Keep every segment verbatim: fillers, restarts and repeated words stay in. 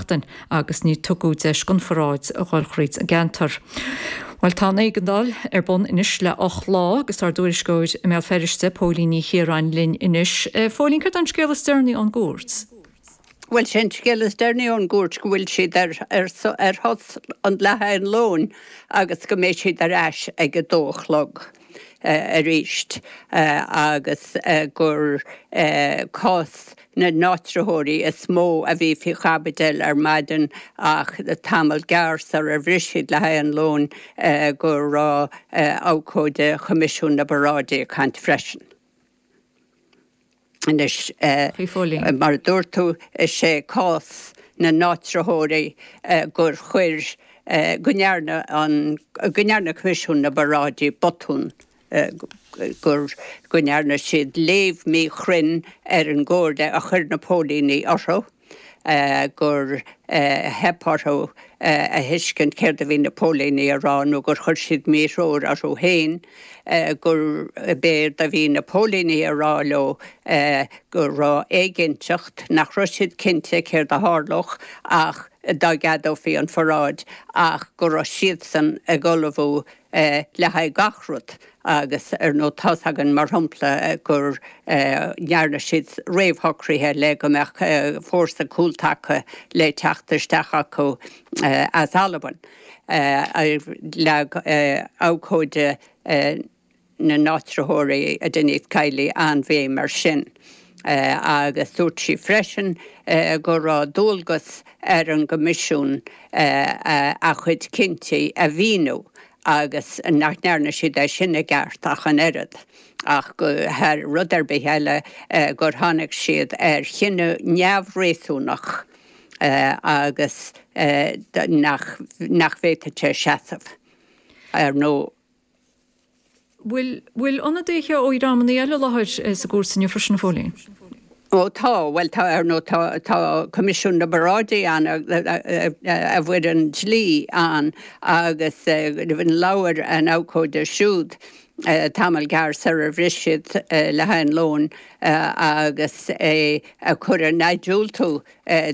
seachtain agus ní tugadh deis don pharáid a dhul thríd an gceantar. Well tá an éigeandáil ar bun anois le ocht lá agus ár dtuairisceoir i mBéal Feirste Póilín Ní Chiaráin linn anois. Phóilín cad an scéal is deireanaí ón gcúirt. Well sin scéal is deireanaí ón gcúirt go bhfuil siad ar ar ar shos le haghaidh an lóin agus go mbeidh siad ar ais ag a dó a chlog. Uh, arís uh, agus uh, gur uh, cás na n-áitritheoirí is mó a bhí faoi chaibidil ar maidin ach tamall gearr sular bhris siad le haghaidh an lóin uh, go raibh uh, abhcóide Choimisiún na bParáidí ag caint freisin. Anois uh, mar dúirt tú is é cás na n-áitritheoirí uh, gur chuir uh, go ndearna an go ndearna Coimisiún na bParáidí botún gur go ndearna siad léamh míchruinn ar an gcomhairle a chuir na póilíní orthu. Uh, gur uh, theip orthu uh, a thuiscint céard a bhí na póilíní a rá nó gur chuir siad míthreoir orthu féin uh, gur b'éard a bhí na póilíní a rá leo uh, go raibh éiginnteacht nach raibh siad cinnte céard a tharlódh ach dá gceadófaí an pharáid ach go raibh siadsan ag ullmhú uh, le haghaidh gach rud agus ar ndóigh tá againn mar shampla gur ndearna siad réamhshocruithe le go mbeadh fórsa cúltaca le teacht isteach acu as Albain. Leag abhcóide na n-áitritheoirí a Denise Kiely an-bhéim air sin. Uh, agus dúirt sí freisin uh, go raibh dualgas ar an gCoimisiún uh, a chuid cinntí a mhíniú agus nach ndearna siad é sin i gceart ach an oiread. ach go thar rud ar bith eile gur tháinig siad ar chinneadh neamhréasúnach agus nach nach bhféadfadh sé seasamh ar ndóigh. Bhfuil bhfuil ionadaithe ó dhreamanna eile i láthair sa gcúirt inniu freisin a Phóilín? Ó tá, well tá ar ndóigh tá tá Coimisiún na bParáidí ann a bhfoireann dlí ann agus labhair an abhcóide siúd tamall gearr sular bhris siad le haghaidh an lóin agus é ag cur ina dhiúltú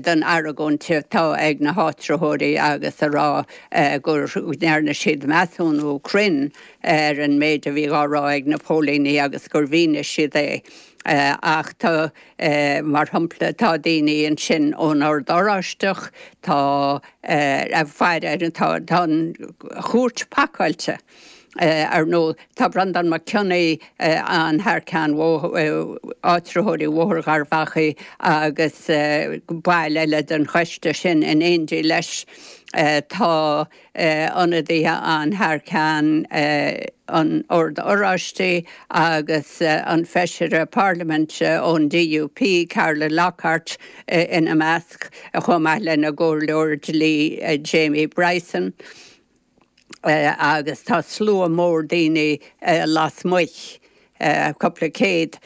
don argóint atá ag na háitritheoirí agus a rá gur ndearna siad measúnú cruinn ar an méid a bhí á rá ag na póilíní agus gur mhínigh siad é. ach tá mar shampla tá daoine ansin ón Ord Oráisteach tá a fear ar tá an chúirt pacáilte. Ar ndóigh tá Breandán Mac Cionnaith ann thar ceann áitritheoirí Bhóthar Gharbh Achaidh agus baill eile den choiste sin in éindí leis tá ionadaithe ann thar ceann an Ord Oráistigh agus an feisire parlaiminte ón DUP Carla Lockhart ina measc chomh maith lena gcomhairleoir dlí Jamie Bryson. agus tá slua mór daoine lasmuigh cúpla céad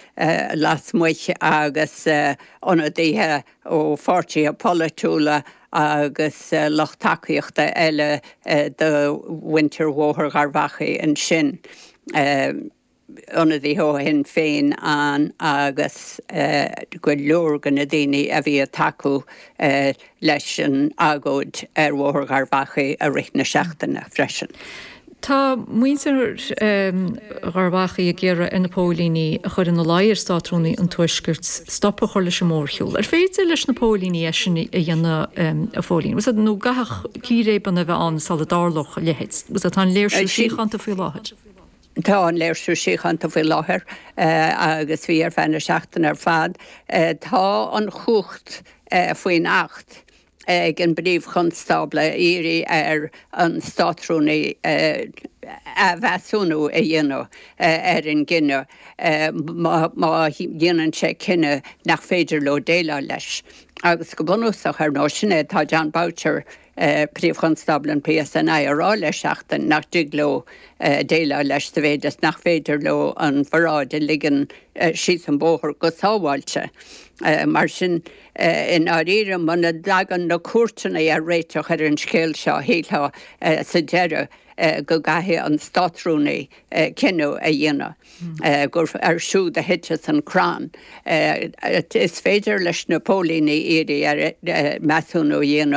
lasmuigh agus ionadaithe ó pháirtithe polaitiúla agus lucht tacaíochta eile do mhuintir Bhóthar Gharbh Achaidh ansin. Ionadaithe ó Shinn Féin ann agus go leor de na daoine a bhí ag tacú leis an agóid ar Bhóthar Gharbh Achaidh i rith na seachtaine freisin. Tá muintir Gharbh Achaidh ag iarraidh ar na póilíní a chur ina luí ar Státrúnaí an Tuaiscirt stop a chur leis an mórshiúl. Ar féidir leis na póilíní é sin a dhéanamh a Phóilín? Was nó gach círéibeanna a bheith ann sula dtarlódh a leithéid? Was tá an léirsiú síochánta faoi láthair? Tá an léirsiú síochánta faoi láthair agus bhí ar feadh na seachtaine ar fad. Tá an chumhacht faoin Acht ag an bPríomh-Chonstábla iarraidh ar an Státrúnaí athmheasúnú a dhéanamh ar an gcinneadh má dhéanann sé cinneadh nach féidir leo déileáil leis. Agus go bunúsach ar ndóigh sin é tá Jon Boutcher Príomh-Chonstábla an PSNI a rá le seachtain nach dtig leo déileáil leis sa mhéid is nach féidir leo an pharáid a ligean síos an bóthar go sábháilte. Mar sin i ndáiríre muna dtagann na cúirteanna ar réiteach ar an scéal seo shílfeá sa deireadh go gcaithfidh an Státrúnaí cinneadh a dhéanamh gur air siúd a thiteas an crann. Is féidir leis na póilíní iarraidh ar measúnú a dhéanamh